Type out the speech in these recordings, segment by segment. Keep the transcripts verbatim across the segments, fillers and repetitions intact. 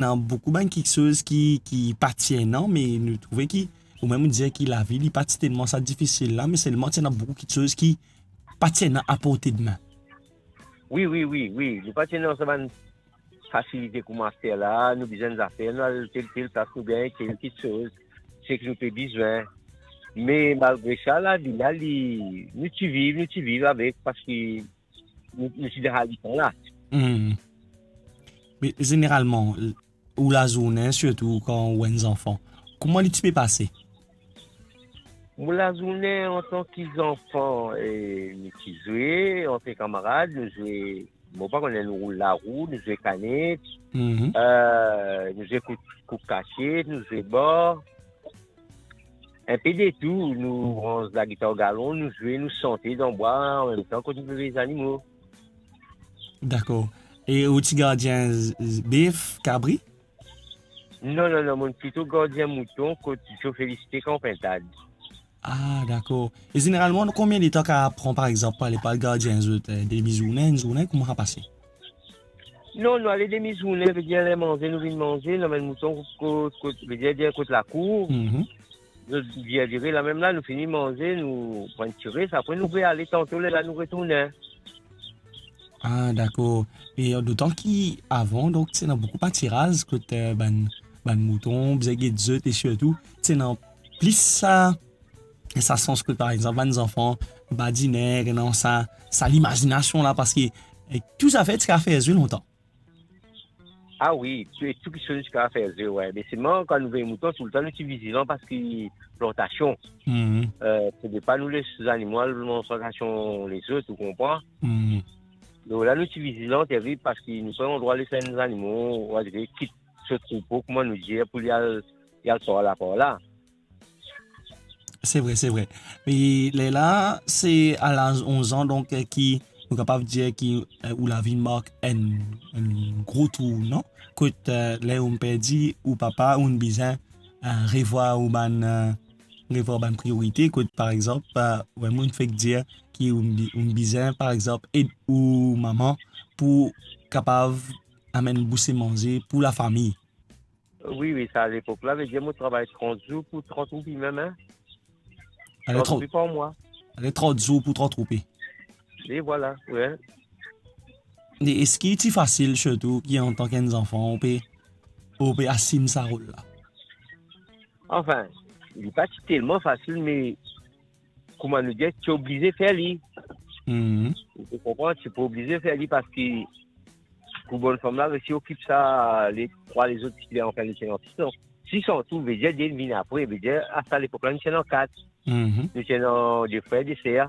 ena boukou bann kiksoz ki, ki pa ti ena, me nou trouve ki, ou mem ou dir ki lavi, li pa ti telman sa difisil la, me selman ti ena boukou kiksoz ki pa ti ena aporte de men. Wi, wi, wi, wi. Nou pa ti ena sa bann fasilite kouma aster la, nou bizin zafer, nou al tel, tel plas, nou gagn tel kiksoz, seki nou pe bizin. Me malgre sa, lavi la, li, nou ti viv, nou ti viv avek, parski nou, nou ti dan sa letan la. Hmm. Me zeneralman, ou lazourne, sirtou kan ou enn zanfan, kouma li ti pe pase? Mo lazourne antan ki zanfan, e, nou ti zwe ant kamarad, nou zwe, mo pa kone, nou roul larou, nou zwe kanet, Mhm. e, nou zwe kout, kout kasiet, nou zwe bar. Enpe de tou, nou ranz lagitar o galon, nou zwe, nou sante dan bwa, anmemtan kot nou pe vey zanimo. Dakor. E ou ti gardien z-, z-, bef, kabri? Non, non, non, mo plito gardien mouton kot Zo Felisite kan Pintad. Ah, dakor. E zeneralman, konbien letan ka pran, par exanp, pou ale, pou al gardien zot, e, demi zourne, enn zourne, kouma sa pase? Non, nou ale demi zourne, vedir ler manze, nou vinn manze, nou amenn mouton kot, kot, vedir, dir kot lakour. Mhm. Zot vinn dire lamem la, nou fini manze, nou pran ti res, apre nou pe ale tanto, lerla nou retourne. Ah, dakor. E, e, dotan ki avan, donk, ti ena boukou patiraz kot, e, bann, bann mouton, bizin get zot, e sirtou, ti ena plis sa, sa sans kot, par exanp, bann zanfan badine, ena sa, sa limazinasion la, parski, e, tou zafer ti kapav fer zwe lontan. Ah wi, tou, tou kiksoz ti kapav fer zwe, wi. Me selman, kan nou vey mouton, toultan nou ti vizilan parski plantasion. Mhm. E, fode pa nou les zanimo al manz plantasion lezot, ou konpran? Mhm. Donk la, nou ti vizilan terib parski nou pa andrwa les enn zanimo, ou a dir, kit so troupo, kouma nou dir, pou li al, li al par la, par la. Se vre, se vre. Me lerla, se a laz onz an, donk, e, ki nou kapav dir ki, e, ou lavi mark enn, enn gro tournan, kot, e, ler ou'nn perdi ou papa, ou'nn bizin, e, revwar ou bann, e, revwar bann priorite, kot, par exanp, e, ou mem ou'nn fek dir ki ou'nn bi-, ou'nn bizin, par exanp, ed ou mama pou kapav amenn bouse manze pou lafami. Wi, wi, sa, alepok la, vedir mo travay trant zour pou trant roupi mem, en. Ale, trant roupi par mwa. Ale, trant zour pou trant roupi. E vwala, wi. E eski ti fasil, sirtou ki antan ki enn zanfan, ou pe, ou pe asim sa rol la? Anfin, li pa ti telman fasil, me kouma nou dir, ti oblize fer li. Mhm. Ou konpran, ti pou oblize fer li parski pou bann fam la resi okip sa, le trwa lezot ki ti la, anfin, nou ti ena sis an. Sis an tou, vedir de vinn apre, vedir a sa lepok la, nou ti ena kat. Mhm. Nou ti ena de frer, de ser.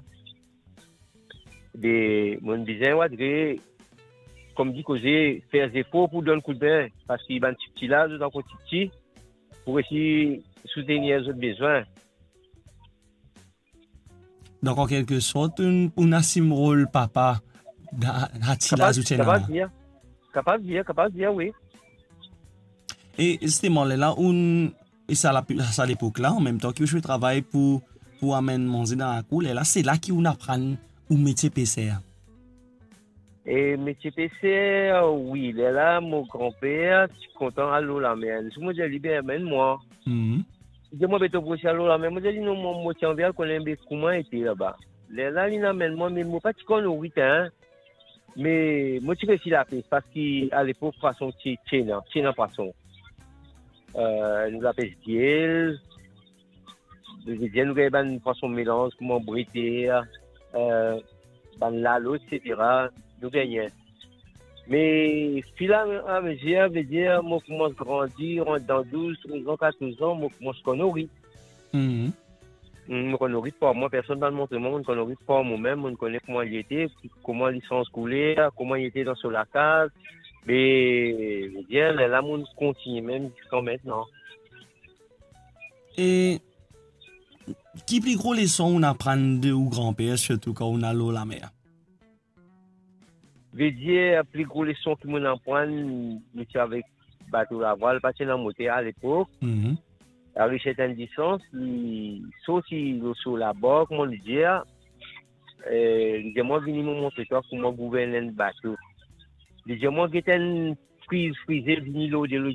De, mo bizin, ou a dir, kouma dir, koze, fer zefor pou donn koudme, parski bann tipti la, zot ankor tipti, pou resi soutenir zot bizin. Donk, an kelke sort, ou'nn, ou'nn asim rol papa dan, dan ti laz ou ti ena la. Kapav dir, kapav dir, kapav dir, wi. E zisteman, lerla ou'nn, e sa la, sa lepok la, anmemtan ki ou ti pe travay pou, pou amenn manze dan lakour, lerla, se la ki ou'nn aprann ou metie peser? E metie peser, wi, lerla mo granper ti kontan al lor lamer. Li dir mwa, "Be, amenn mwa." Mhm. Li dir mwa, "Be, to pou osi al lor lamer." Mo dir li, "Non, mwa, mo ti anvi al kone be kouma ete laba." Lerla, li'nn amenn mwa, me mo pa ti konn norit, en. Me mo ti resi lapes, parski alepok, pwason ti, ti ena, ti ena pwason. E, nou lapes diel, nou, nou gagn bann pwason melanz, kouma breter, e, bann lalo, et cetera, nou gagn. Me, firamezir, vedir, mo koumans grandi, rant dan douz, trez an, katorz an, mo koumans konn norit. Mhm. Mm, mo konn norit par mwa, personn pa'nn montre mwa, mo konn norit par momem, mo kone kouma li ete, kouma li sanz kouler, kouma li ete dan so lakaz. Me, vedir, lerla mo kontigne mem ziska aster. E ki pli gro leson ou'nn aprann de ou granper, sirtou kan ou'nn al lor lamer? Vedir, pli gro leson ki mo'nn aprann, nou ti avek bato lavwal, pa ti ena moter alepok. Mhm. Ariv sertenn distans, li sorti lor so labar, kouma nou dir, e, li dir mwa, "Vini, mo montre twa kouma gouvern enn bato." Li dir mwa, "Get enn Squeeze, Squeeze, vini lor de lor,